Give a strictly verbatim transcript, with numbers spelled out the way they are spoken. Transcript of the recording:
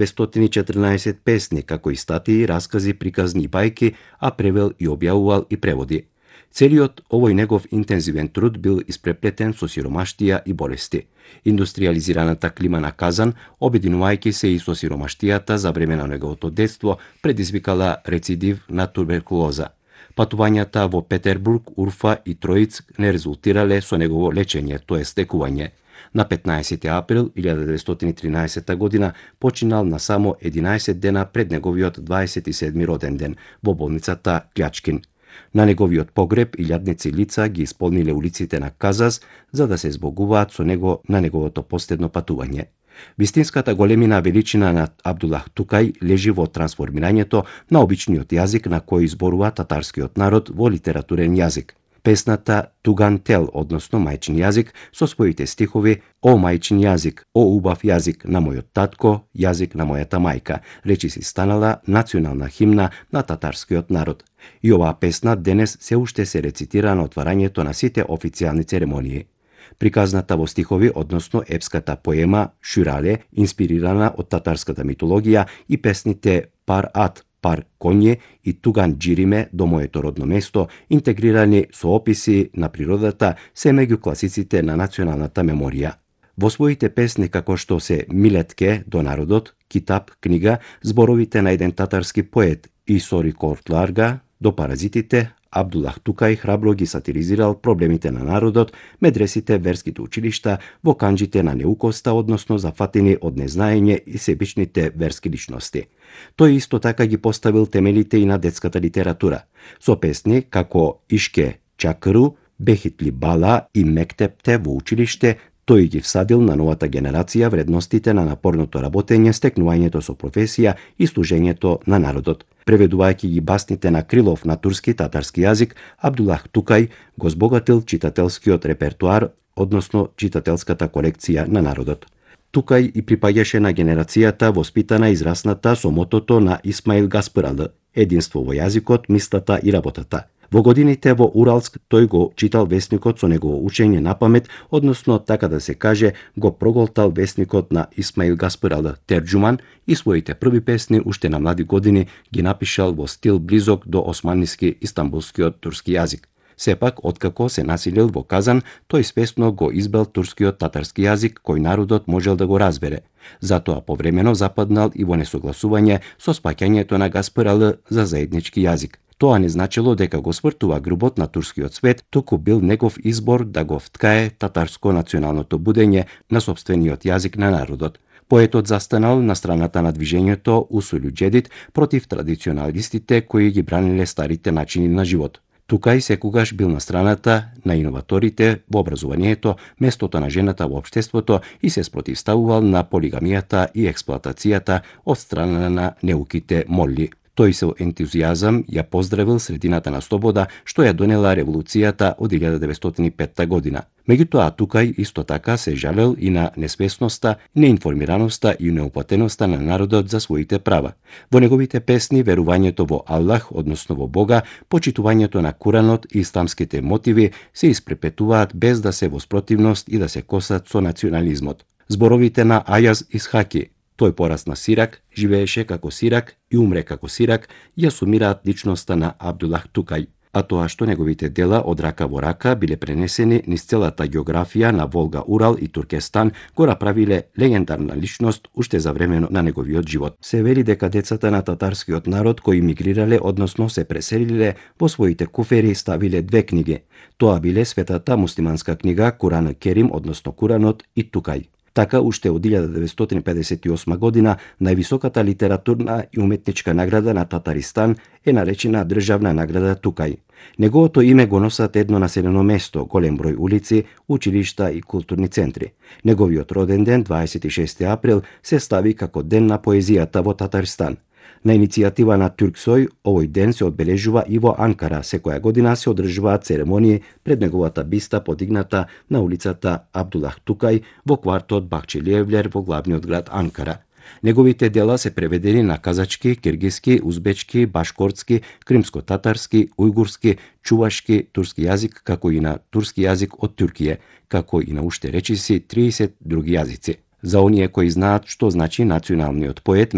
петстотини и четрнаесет песни, како и статии, раскази, приказни и бајки, а превел и објавувал и преводи. Целиот овој негов интензивен труд бил испреплетен со сиромаштија и болести. Индустриализираната клима на Казан, обединувајќи се и со сиромаштијата за време на неговото детство, предизвикала рецидив на туберкулоза. Патувањата во Петербург, Урфа и Троиц не резултирале со негово лечење, тоа е стекување. На петнаесети април илјада деветстотини и тринаесета година починал на само единаесет дена пред неговиот дваесет и седми роден ден во болницата Клјачкин. На неговиот погреб илјадници лица ги исполниле улиците на Казас за да се збогуваат со него на неговото последно патување. Вистинската големина величина на Абдулах Тукај лежи во трансформирањето на обичниот јазик на кој зборува татарскиот народ во литературен јазик. Песната Туган Тел, односно мајчин јазик, со своите стихови "О мајчин јазик, о убав јазик на мојот татко, јазик на мојата мајка", речиси станала национална химна на татарскиот народ. И оваа песна денес се уште се рецитира на отварањето на сите официјални церемонии. Приказната во стихови, односно епската поема Шурале, инспирирана од татарската митологија, и песните Пар Ат, Пар Конје и Туган Джириме до моето родно место, интегрирани со описи на природата, се меѓу класиците на националната меморија. Во своите песни како што се Милетке до народот, Китап, книга, зборовите на еден татарски поет Исори Кортларга до паразитите, Абдулах Тукај храбро ги сатиризирал проблемите на народот, медресите, верските училишта, во канџите на неукоста, односно зафатени од незнаење и себичните верски личности. Тој исто така ги поставил темелите и на детската литература, со песни како Ишке Чакру, Бехитли Бала и Мектепте во училиште. Тој ги всадил на новата генерација вредностите на напорното работење, стекнувањето со професија и служењето на народот. Преведувајќи ги басните на Крилов на турски татарски јазик, Абдулах Тукај го збогатил читателскиот репертуар, односно читателската колекција на народот. Тукај и припаѓаше на генерацијата воспитана и израсната со мотото на Исмаил Гаспаралы: единство во јазикот, мислата и работата. Во годините во Уралск тој го читал весникот со негово учење на памет, односно така да се каже, го проголтал весникот на Исмаил Гаспаралы Терџуман и своите први песни уште на млади години ги напишал во стил близок до османиски истанбулскиот турски јазик. Сепак, откако се населил во Казан, тој свесно го избрал турскиот татарски јазик кој народот можел да го разбере. Затоа повремено западнал и во несогласување со спаќањето на Гаспаралы за заеднички јазик. Тоа не значило дека го свртува грбот на турскиот свет, туку бил негов избор да го вткае татарско националното будење на сопствениот јазик на народот. Поетот застанал на страната на движењето Усулу Џедид против традиционалистите кои ги браниле старите начини на живот. Тукај секогаш бил на страната на иноваторите во образованието, местото на жената во општеството и се спротивставувал на полигамијата и експлоатацијата од страна на неуките молли. Тој со ентузијазам ја поздравил средината на слобода што ја донела револуцијата од илјада деветстотини и петта година. Меѓутоа, Тукај исто така се жалел и на несвесноста, неинформираноста и неуплатеноста на народот за своите права. Во неговите песни верувањето во Аллах, односно во Бога, почитувањето на Куранот и исламските мотиви се испрепетуваат без да се во спротивност и да се косат со национализмот. Зборовите на Ајаз Исхаки: тој порасна сирак, живееше како сирак и умре како сирак, ја сумираат личноста на Абдулах Тукај. А тоа што неговите дела од рака во рака биле пренесени низ целата географија на Волга, Урал и Туркестан, го направиле легендарна личност уште за време на неговиот живот. Се вели дека децата на татарскиот народ кои мигрирале, односно се преселиле, во своите куфери ставиле две книги. Тоа биле светата муслиманска книга Куран Керим, односно Куранот, и Тукај. Така, уште од илјада деветстотини педесет и осма година, највисоката литературна и уметничка награда на Татаристан е наречена државна награда Тукај. Неговото име го носат едно населено место, голем број улици, училишта и културни центри. Неговиот роден ден, дваесет и шести април, се стави како Ден на поезијата во Татарстан. На иницијатива на Турксој, овој ден се одбележува и во Анкара. Секоја година се одржуваат церемонии пред неговата биста подигната на улицата Абдулах Тукај во квартот Бахчелиевлер во главниот град Анкара. Неговите дела се преведени на казачки, киргиски, узбечки, башкортски, кримско-татарски, ујгурски, чувашки, турски јазик, како и на турски јазик од Туркија, како и на уште речиси триесет други јазици. За оние кои знаат што значи националниот поет,